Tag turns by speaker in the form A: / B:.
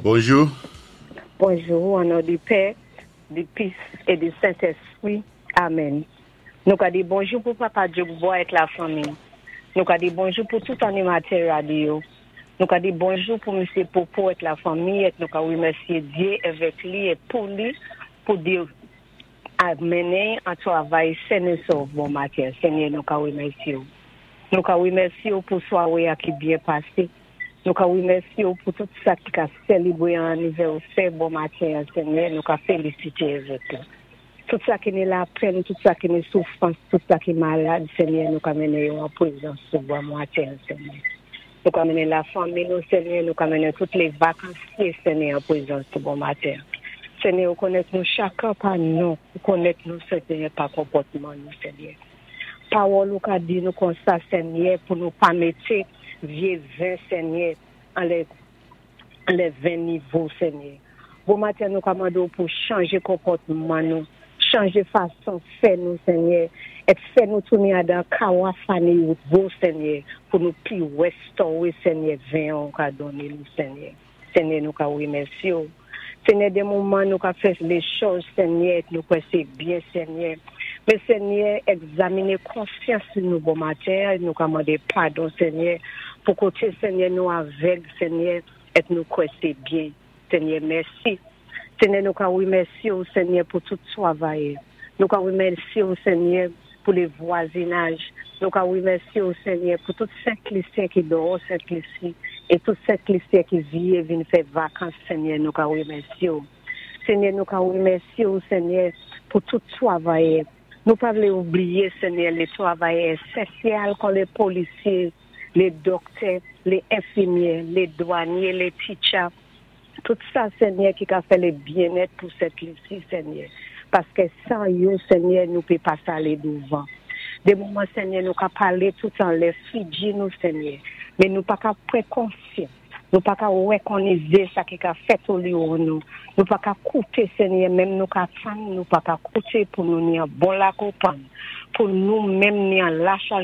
A: Bonjou.
B: Bonjou, an non di Pè, di Fis é di Sentéspwi. Amèn. Nou ka di bonjou pou Papa Djoukbois ak lafanmi. Nou ka di bonjou pou tout animatè radyo. Nou ka di bonjou pou Misyé Popo ak lafanmi é nou ka wimèsyé Dye avèk li é pou li pou di ap mennen an twavay sen é sòv bon maten. Senyè, nou ka wimèsyé ou. Nou ka wimèsyé ou pou swawé a ki byen pasé. Nou ka wimèsyé ou pou tout sa ki ka sélébwé an anivèsè bon maten, Senyè, nou ka félisité avèk ou. Tout sa ki ni lapenn, tout sa ki ni soufrans, tout sa ki malad, Senyè, nou ka mennen yo an pwézans ou bon maten, Senyè. Nou ka mennen lafanmi nou, Senyè, nou ka mennen tout lé vakansyé, Senyè, an pwézans ou bon maten. Senyè, ou konnèt nou chakan pa non, ou konnèt nou, Senyè, pa konpòtman nou, Senyè. Pawòl ou ka di nou konsa, Senyè, pou nou pa mété vyé ven, Senyè, anlè ven nouvo, Senyè. Bon maten, nou ka mandé ou pou chanjé konpòtman nou, chanjé fason fè nou, Senyè, é fè nou tounen adan kawaf a nouvo, Senyè, pou nou pi wéstowé, Senyè, ven ou ka donné nou, Senyè. Senyè, nou ka wimèsyé ou. Senyè, dé moman nou ka fè lé chòz, Senyè, nou kwè sé byen, Senyè. Men Senyè, egzaminé konsyans nou bon maten, nou ka mandé padon, Senyè, pou koté, Senyè, nou avèg, Senyè, é nou kwè sé byen. Senyè, mèsi. Senyè, nou ka wimèsyé ou, Senyè, pou tout twavayè. Nou ka wimèsyé ou, Senyè, pou lé vwazinaj. Nou ka wimèsyé ou, Senyè, pou tout Sent Lisyen ki dòwò Sent Lisi é tout Sent Lisyen ki vyé vin fè vakans, Senyè, nou ka wimèsyé ou. Senyè, nou ka wimèsyé ou, Senyè, pou tout twavayè. Nou pa vlé oubliyé, Senyè, lé twavayè ésansyèl kon lé polisyé, lé dòktè, lé enfimyè, lé dwanyé, lé teacher, tout sa, Senyè, ki ka fè lé byennèt pou Sent Lisi, Senyè. Paské san yo, Senyè, nou pé pa alé douvan. Dé moman, Senyè, nou ka palé tout anlè figi nou, Senyè. Men nou pa ka pwan konsyans. Nou pa ka wékonnizé sa ki ka fèt oliwò nou. Nou pa ka kouté, Senyè, menm nou ka tann, nou pa ka kouté pou nou ni an bon lakonpann. Pou nou menm ni an lachaj.